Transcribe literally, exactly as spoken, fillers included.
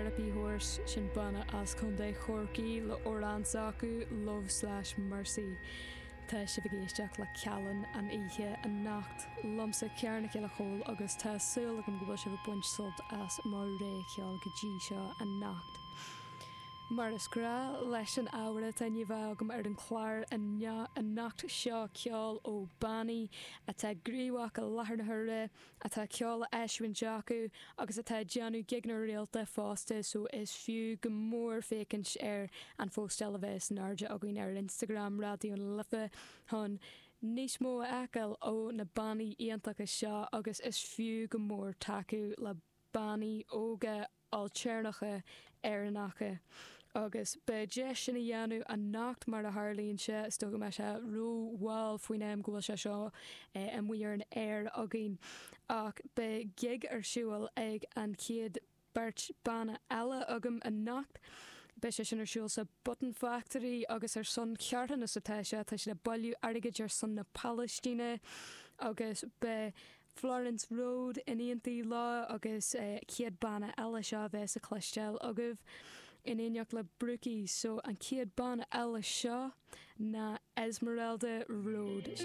Therapy Horse sin banna as Contae Chorcaí le amhrán s'acu Love slash Mercy. Tá sibh ag éisteacht le Cealann an oíche anocht liomsa Ciara Nic Giolla Chóill agus tá súil agam go bhfuil sibh ag baint sult as mo rogha ceoil go dtí seo anocht. Mar is gnách leis an ábhar atá ní bheith agam ar an chlár anocht seo ceol ó bannaí atá gníomhach i láthair na huaire atá ceol á eisiúint acu agus atá déanamh gigeanna rialta fosta so is fiú go mór féachaint ar an phóstáil a bheas in airde againn ar Instagram Raidió na Life chun níos mó a fheiceáil ó na bannaí iontacha seo agus is fiú go mór tacú le bannaí óga ailtéarnacha Éireannacha. agus beidh deis sin a dhéanamh anocht mar a tharlaíonn sé is dócha mé sé rómhall faoin am go bhfuil sé seo amuigh ar an aer againn ach beidh gig ar siúl ag an chéad beirt banna eile agam anocht. Beidh sé sin ar siúl sa Button Factory agus ar son carthanas atá sé tá sé ag bailiú airgid ar son na Palaistíne agus beidh Florence Road in éineacht leo agus uh, chéad banna eile seo bheas le cloisteáil agaibh in éineacht le Brookie, so an chéad banna eile seo ná Esmeralda Road sin